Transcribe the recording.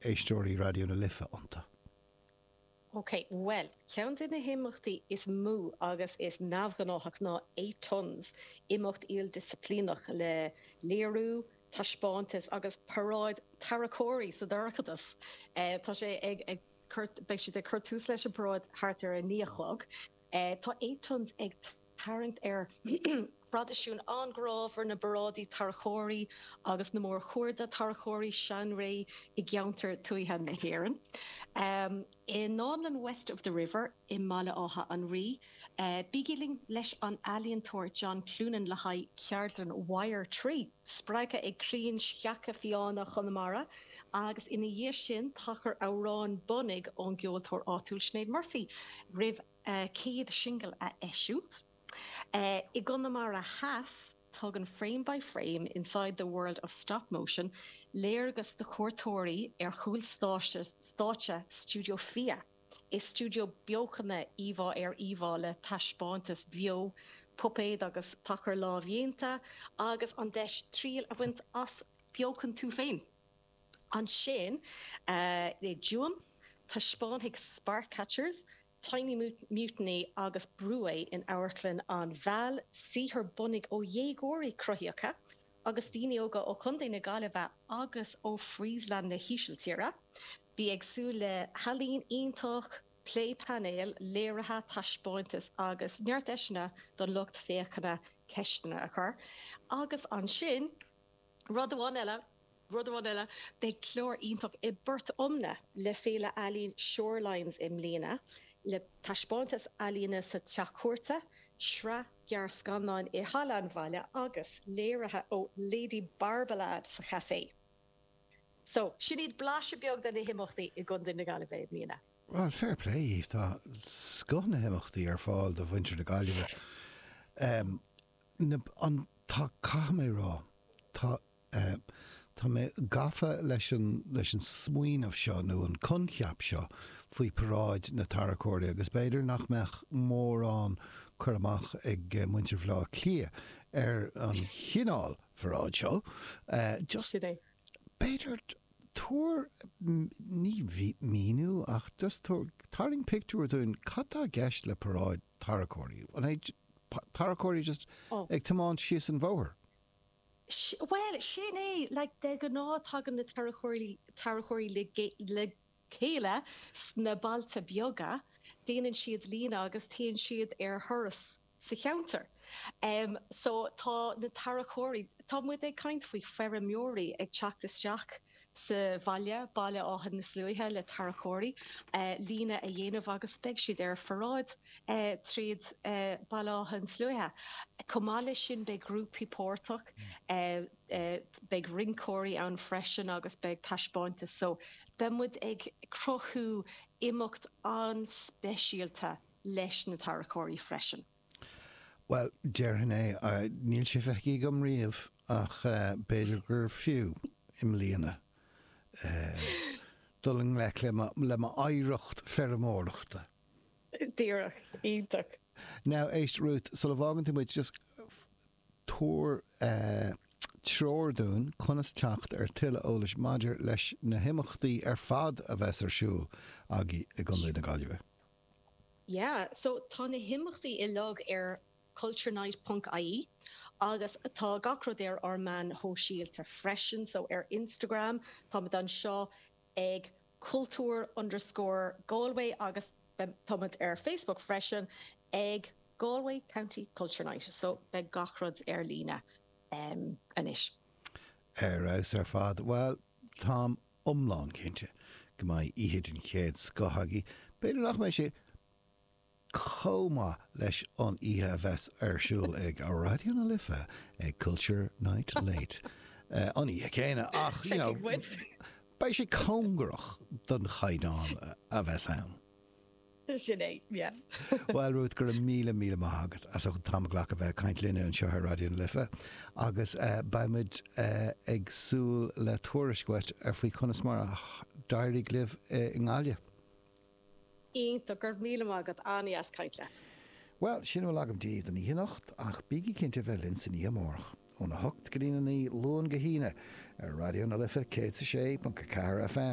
éisteoirí Raidió na Life iontu? Ok, bhuel, ceann de na himeachtaí is mó agus is neamhghnáthach ná Eight Tons, imeacht ildisciplíneach le léiriú, taispeántas agus paráid tarracóirí sa dorchadas. Tá sé ag cur, beidh siad ag cur tús leis an bparáid thart ar a naoi a chlog. Tá Eight Tons ag tarraingt ar thraidisiún an-ghrámhar na bparáidí tarracóirí agus na mórchuarda tarracóirí seanré i gceantar tuaithe na hÉireann. I nDánlann West of the River i mBaile Átha an Rí, bígí linn leis an ealaíontóir John Cloonan le haghaidh ceardlann Wire Tree, spreagtha ag crainn sceacha fiáine Chonamara, agus ina dhiaidh sin tacar amhrán bunaidh ón gceoltóir áitiúil Sinéad Murphy roimh a céad singil a eisiúint. I gConamara Theas, tugann Frame by Frame, Inside the World of Stop Motion léargas do chuairteoirí ar chúl stáitse Stiúideo Fia. Is stiúideo beochana íomhá ar íomhá le taispeántais bheo, puipéad agus tacair lámhdhéanta, agus an deis triail a bhaint as beochan tú féin. Ansin, i dTuaim, taispeánfaidh Spark Catchers, Tiny Mutiny agus Brúé in Amharclann an Mheal saothar bunaidh ó dhéagóirí cruthaíocha agus daoine óga ó Chontae na Gaillimhe agus ó Friesland na hÍsiltíre. Bí ag súil le healaín iontach, plé painéil, léirithe, taispeántais agus neart deiseanna don lucht féachana ceisteanna a chur. Agus ansin, Rud amháin eile, rud amháin eile, beidh clár iontach i bPort Omna le Féile Ealaíon Shorelines i mbliana, le taispeántas ealaíne sa Teach Cúirte, sraith gearrscannáin i Halla an Bhaile agus léirithe ó Lady Barbelade sa chaifé. So, sin iad blaiseadh beag de na himeachtaí i gContae na Gaillimhe i mbliana. Bhuel, fair play dhaoibh, tá scoth na himeachtaí ar fáil do mhuintir na Gaillimhe. Na, an, tá, caithfidh mé a rá, tá, eh, tá mé gafa leis an, leis an smaoineamh seo nó an coincheap seo faoi paráid na tarracóirí agus b'fhéidir nach mbeadh mórán cur amach ag muintir Bhaile Átha Cliath ar an chineál pharáid seo. Eh, just, Sin é. b'fhéidir, tabhair, ní míniú ach just tabhair, tarraing pictiúr dúinn, cad tá i gceist le paráid tarracóirí? An é tarracóirí just ag tiomáint síos an bhóthar. Bhuel, sin é, like, de ghnáth tagann na tarracóirí, tarracóirí le, le chéile sna bailte beaga, déanann siad líne agus téann siad ar thuras sa cheantar. Em, so tá na tarracóirí, tá muid ag caint faoi feirmeoirí ag teacht isteach sa bhaile, Baile Átha na Sluaighe le tarracóirí, líne a dhéanamh agus beidh siad ar pharáid tríd Baile Átha na Sluaighe. Chomh maith leis sin beidh grúpaí páirteach, beidh rinceoirí ann freisin agus beidh taispeántas so beidh muid ag cruthú imeacht an-speisialta leis na tarracóirí freisin. Bhuel, déarfainn é. Níl sé feicthe agam riamh ach b'fhéidir gur fiú i mbliana dul i ngleic le m'oidhreacht feirmeoireachta. Díreach. Iontach. Now, éist, Ruth, sula bhfágann tú muid, just tabhair treoir dúinn conas teacht ar tuilleadh eolais maidir leis na himeachtaí ar fad a bheas ar siúl agaibh i gContae na Gaillimhe. Yeah, so tá na himeachtaí uilig ar culturenight ponc ie agus tá gach rud ar ár meáin shóisialta freisin, so ar Instagram táimid anseo ag cultúr underscore Galway agus táimid ar Facebook freisin ag Galway County Culture Night, so beidh gach rud ar líne anois. Ar fheabhas ar fad. Bhuel, táim iomlán cinnte go mbeidh oíche den chéad scoth agaibh. B'fhéidir nach mbeidh sé chomh maith leis an oíche a bheas ar siúl ag Raidió na Life ag Culture Night Late an oíche chéanna ach, you know, beidh sé cóngarach don chaighdeán a bheas ann. Sin é, yeah. Bhuel, Ruth, go raibh míle, míle maith agat as ucht an t-am a ghlacadh a bheith ag caint linne anseo ar Raidió na Life agus beidh muid ag súil le tuairisc uait ar faoi conas mar a d'éirigh libh i nGaillimh. Iontach, go raibh míle maith agat, an-dheas caint leat. Bhuel, sin a bhfuil agam daoibh don oíche anocht ach bígí cinnte a bheith linn san oíche amárach, óna hocht go dtína naoi, Luan go hAoine, ar Raidió na Life 106.4 FM.